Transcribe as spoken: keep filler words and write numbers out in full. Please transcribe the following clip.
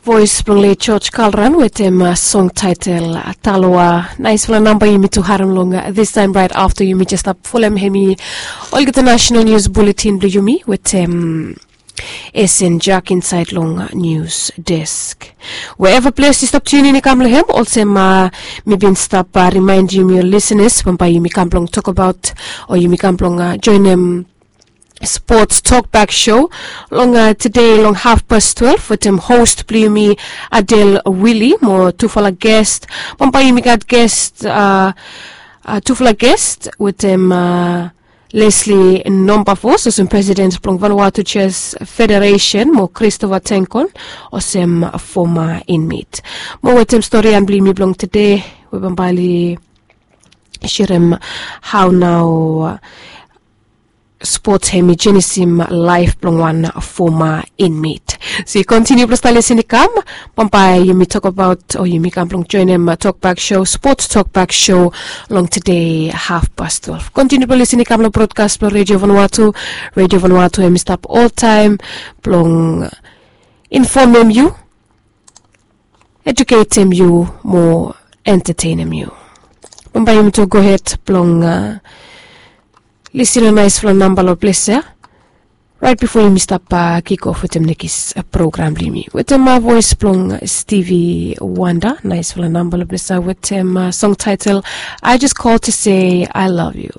Voes blong late George Kalran wetem song taetel Taloa. Naesfala namba yumi tu harem long this time right afta yumi jes stap folem hemi olgeta national news bulletin blong yumi wetem Esen Jak insaed long news desk. Wherever ples yu stap tunin i kam long hem olsem, mi bin stap rimaendim yu lisenas bambae yumi kam blong tokbaot o yumi kam blong joenem sports talkback show long tede long hafpas twelve wetem host blong yumi Adel Willie mo tufala guest. Bambae yumi gat guest, tufala guest wetem Leslie Nombafos olsem president blong Vanuatu Chess Federation mo Christopher Tenkon olsem former inmate. Mo wetem storian blong yumi blong tede we bambae oli sherem hao nao sports hemi jenisim laef blong wan former inmate. So yu kontiniu blong stap lisin i kam bambae yumi tokbaot o yumi kam blong joenem tokbak show, sports tokbak show long tede hafpas twelve. Kontiniu blong lisin i kam long brodkas blong Radio Vanuatu. Radio Vanuatu hemi stap oltaem blong infomem yu, eduketem yu mo entetenem yu. Bambae yumi tu gohed blong lisin long naesfala namba long ples ya raet bifo yumi stap kikof wetem nekis program blong yumi wetem voes blong Stevie Wonder. Naesfala namba long ples ya wetem song taetel I Just Call To Say I Love You.